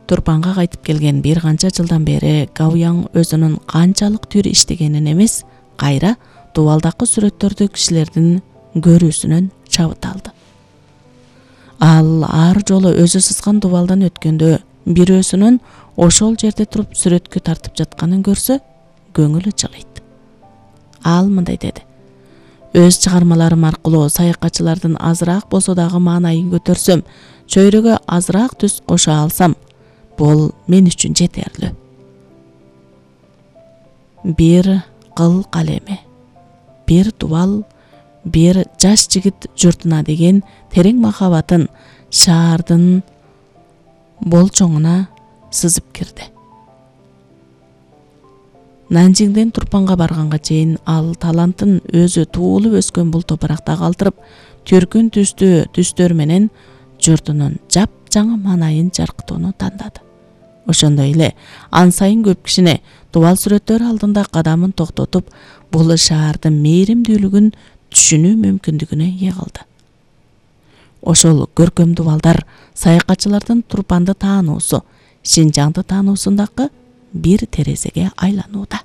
Турпанга кайтып келген бир канча жылдан бери Гауяң өзүнүн канчалык түр иштегенин эмес, кайра дубалдакы сүрөттөрдү кишилердин көрүүсүнөн чабыт алды. Ал ар жолу өзү сызган дубалдан өткөндө бирөөсүнүн ошол жерде туруп сүрөткө тартып жатканын көрсө, көңүлү жылыйт. Ал мындай деди: өз чыгармаларым аркылуу саякатчылардын азыраак болсо дагы маанайын көтөрсөм, чөйрөгө азыраак түс кошо алсам, бул мен үчүн жетерлүү. Бир кыл калеми, бир дубал, бир жаш жигит журтуна деген терең махабатын шаардын болчоңуна сызып кирди. Нанжиңден Турпанга барганга чейин ал талантын өзү туулуп өскөн бул топуракта калтырып, түркүн түстүү түстөр менен журтунун жапжаңы маанайын жаркытууну тандады. Ошондой эле ан сайын көп кишине дубал сүрөттөр алдында кадамын токтотуп, бул шаардын мээримдүүлүгүн түшүнүү мүмкүндүгүнө ээ кылды. Ошол көркөм дубалдар саякатчылардын Турпанды таануусу, Шинжаңды таануусундагы бир терезеге айланууда.